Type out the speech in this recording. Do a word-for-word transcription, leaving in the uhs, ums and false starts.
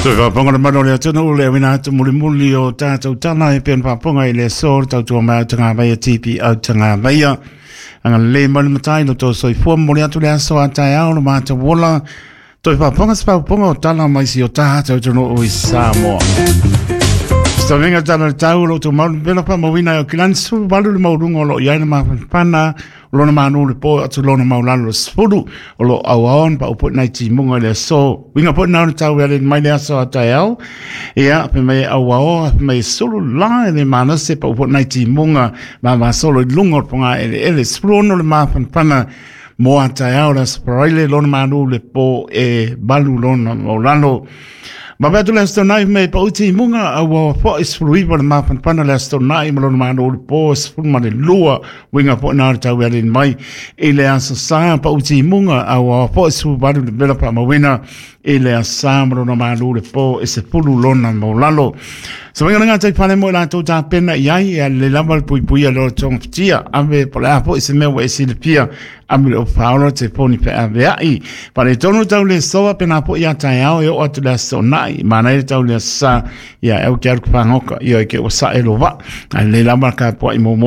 Toe faafofoga le mamalu o le atunuu le auina atu mulimuli o tatou tala e pei ona faafofoga i le aso le tautua mai autagavaia T P Autagavaia. Agalelei mai le Matai lo outou soifua momoli atu le aso a taeao lo matou ola. Toe faafofoga se faafofoga o tala mai si o tatou atunuu i Samoa. Savenga tala le tau o lo outou mau pela faamauina e o kilani sefulu valu le maualuga o lo o i ai le mafanafana o lona manu le po atu lona maulalo le sefulu o lo o auao na paupoi nai timuga i le aso. Uiga foi na o le tau e ale mai le aso a taeao. Ia, pe mai e auao, pe mai e sulu la e le manase paupoi nai timuga ma masolo i lunga o le ponga ele ele. Sefulu ono le mafanafana mo a taeao le aso paraile lona manu le po e valu lona maulalo. Ma pe atu le aso tonai me pa uti munga au wa fo is fluiva le mafanafana le aso tonai ma lona manu le po sefulu ma le lua winga po na le tau e mai i le aso sa pa uti munga au wa fo is fluiva le vela pa mawina i le aso ma lona manu le po e sefulu lona maulalo. So winga nga tai pale mo la tau ta pena i ai e le lava le pui pui a lo tonga fitia ave po le apo i se mea wa e silipia ame le o paolo te poni pe ave ai. Pa le tonu tau le soa pena po ia tai ao e o atu le aso nai mana e tau le sa ia e au ke aru kupangoka ia e ke o sa e lo wa. A le lava ka po i mo